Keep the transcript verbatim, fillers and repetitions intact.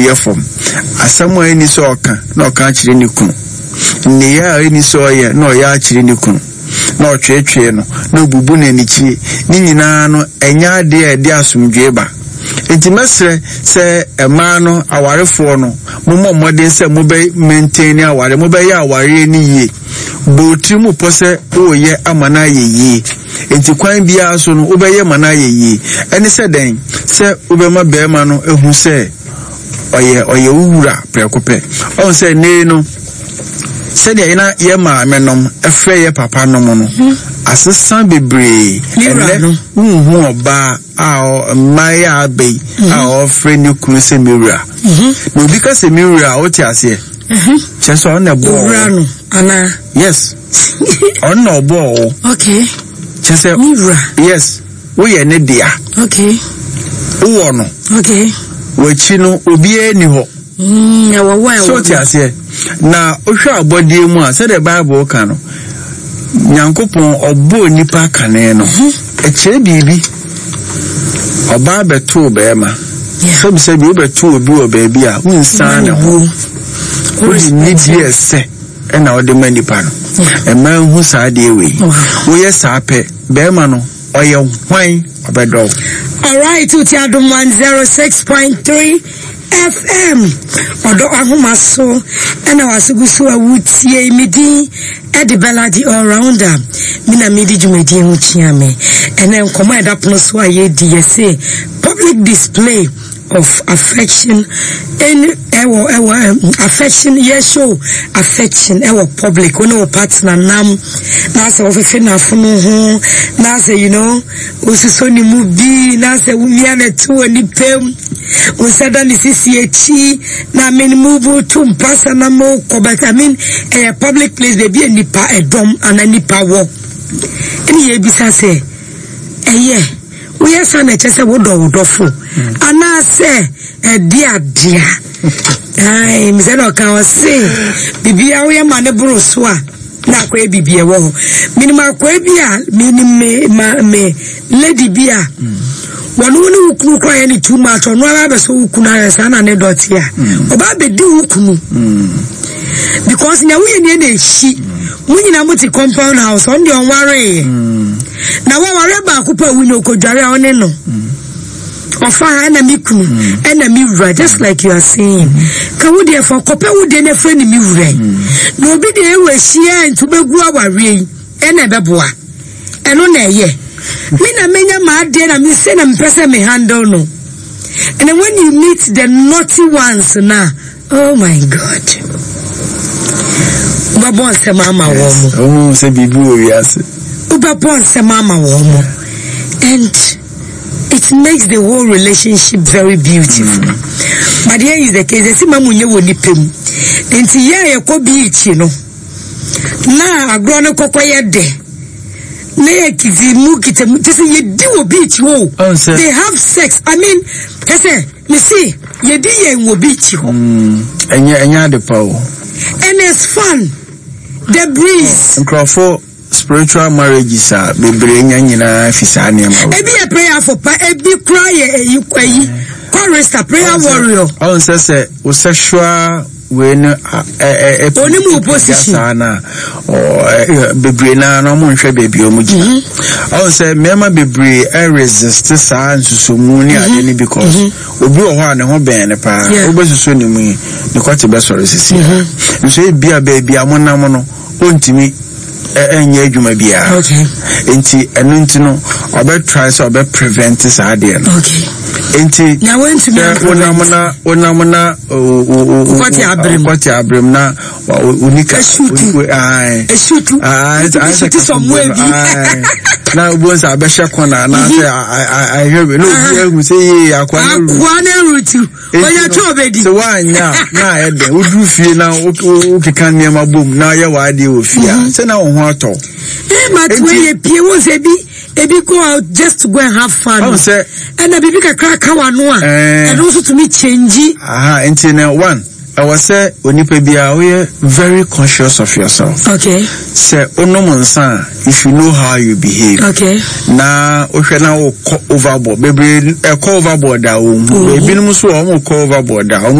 Yɛ fam. Asɛm a ɛnni sɛ ɔka na ɔka akyerɛ ne kunu, nneyɛɛ a ɛnni sɛ ɔyɛ na ɔyɛ akyerɛ ne kunu, na ɔtweetwee no, na ɔbubu no anikyie, ne nyinaa no, ɛnyɛ adeɛ a ɛde asomdwoeɛ ba. Enti mɛsrɛ sɛ mmaa no, awarefoɔ no, mommɔ mmɔden sɛ mobɛ maintain awareɛ, mobɛyɛ awareɛ no yie. Bɔ wo tiri mu pɔ sɛ woreyɛ ama no ayɛ yie. Enti kwan biara so no, wobɛyɛ ma no ayɛ yie. Ɛne sɛ dɛn? Sɛ wobɛma barima no ahu sɛ ɔyɛ ɔyɛ wo wura prɛko pɛ. Ɔhu sɛ nnɛ yi no, sɛdeɛ na yɛ maame nom frɛ yɛ papa nom no, asesa bebree. Ɛnnɛ, wonhu ɔbaa a mmaa a aba yi a ɔfrɛ ne kunu sɛ me wura. Na obi ka sɛ me wura a, wote aseɛ? Kyerɛ sɛ ɔno na ɛbɔɔ wo. Owura no anaa? Yes. Ɔno na ɔbɔɔ wo. Okay. Kyerɛ sɛ. Me wura. Yes. Woyɛ ne dea. Okay. Wowɔ no. Okay. W'akyi no obiara ni hɔ. Mm, ɛwɔ wɔ ɛwɔ. So te aseɛ. Na wohwɛ abɔdeɛ mu a, sɛdeɛ Bible ka no, Nyankopɔn ɔbɔɔ nipa kane no. Ɛkyerɛ biribi. Ɔbaa bɛtoo bɛrima. Sɛbisɛbi wobɛto obi wɔ baabi a wonsan ne ho. Wode nidie ɛsɛ ɛna wode ma nipa no. Ɛma nhu saa adeɛ wei. Woyɛ saa pɛ, bɛrima no ɔyɛ hwan ɔbɛdɔ wo. Alright, wotie Adom one zero six point three F M. Ɔdɔ ahoma so ɛna waso gu so a wotie. Me din ɛde Bella the All Rounder. Me na medi dwumadie ho kyia me. Ɛnɛ nkɔmɔ a ɛda pono so a yɛdi, yɛse public display of affection ɛne ɛwɔ ɛwɔ ɛm, affection, yɛ show affection ɛwɔ public, wo ne wo partner nam na sɛ wɔfefe n'afono ho, na sɛ you know wosusɔ ne mu bi, na sɛ womia ne to wɔ nipa mu, wo nsa da ne sisi akyi na I mean mu bu tu mpasa na mo kɔ, but I mean ɛyɛ public place, baabi a nipa ɛdɔm ana nipa wɔ, ɛne yɛbisa sɛ ɛyɛ woyɛ sa na ɛkyɛ sɛ wodɔ wo dɔfo anaasɛ ɛde adea ai mesɛ na ɔka ɔse biribia woyɛ ma ne boro so a na akɔyɛ biribi ɛwɔ hɔ. Menim akɔɛ bi a menim me ma me lady bi a wɔne wo ne wo kunu kora yɛ ne too much, ɔno ara bɛsɛ wo kunu ayɛ saa na ne dɔte a ɔba bɛdi wo kunu because nea woyɛ nie na ehyi mo nyinaa. Mo te compound house, ɔno deɛ ɔnwareeɛ na wɔware baako pa wu na okɔdware a ɔne no ɔfa ha ɛna me kunu ɛna me wura, just like you are saying. Ka wo deɛ fa kɔpɛ wo deɛ na efirɛ ne me wura na obi deɛ ewu ahyia nti wobɛgu awareɛ yi ɛna ɛbɛboa. Ɛno na ɛyɛ me na menya maa adeɛ na me se na mepɛ sɛ me handle no. And then when you meet the naughty ones na, oh my God, wobɛbɔ nsɛm ama wɔn mo. Ɔmo sɛ biribi wɔ wiase. Wobɛbɔ nsɛm ama wɔn mo and it makes the whole relationship very beautiful mm. But here is the case, ɛsi ma mu nye wɔ nipa mu nti yɛ a yɛkɔ beach no na agorɔ no kɔkɔ yɛ dɛ na yɛ kiti mu kita mu te sɛ yɛdi wɔ beach hɔ o. They have sex, I mean, kɛsɛ me see yɛdi yɛn wɔ beach hɔ. ɛnyɛ ɛnyɛ ade pa o. And it's fun, the breeze. Nkurɔfo spiritual marriages a bebree nya nyinaa fi saa nneɛma wɔ. Ebi yɛ prayer for pa, ebi kura yɛ eyi eyi chorister, prayer warrior. Ɔn sɛ sɛ o sexual wei no ɛ ɛ Onim wo position. Saa na ɔ bebree naa na ɔmo nhwɛ beebi ɔmo gyina. Ɔn sɛ mmarima bebree ɛresist saa nsusomu ne ade no because obi wɔ hɔ a ne ho bɛn ne paa. Yeah. Wobɛsusu ne mu yi, ne kɔte bɛsɔre sisi a nso ebi a beebi a monam no ɔntumi ɛ ɛnyɛ adwuma biara. Okay nti ɛno nti no ɔbɛ try sɛ ɔbɛ prevent saa adeɛ no. Okay nti Na wɔntumi sɛ wonam na wonam na o o o Wokɔte aberem. Wokɔte aberem na onika. Esutu. Ayi. Esutu. Esutu somewhere bi. Na obo nsa abɛhyɛ kɔna anaasɛ ahwɛ bi na obi ehu sɛ yee, akwa no ru. Akoa ne rutu onye tí o bɛ di. Sɛ woanya a na ayɛ dɛn, woduru fie na wo- wo- wokeka nneɛma bom na ayɛ w'adeɛ wɔ fie a sɛ na wo ho atɔ. Ee, ma tí wọ́n yɛ pie wọ́n sɛ ebi ebi go out just to go and have fun. Ɔhu sɛ ɛna biribi kakra ka wa no a Ɛɛ. ɛno nso tumi change. Aha, nti no one, ɛwɔ sɛ onipa biara woyɛ very conscious of yourself. Okay sɛ wonom nsa a, you should know how you behave. Okay na wohwɛ na wokɔ overboard bebree, ɛkɔ overboard a wɔn mu ebinom nso wɔ wɔn kɔ overboard a wɔn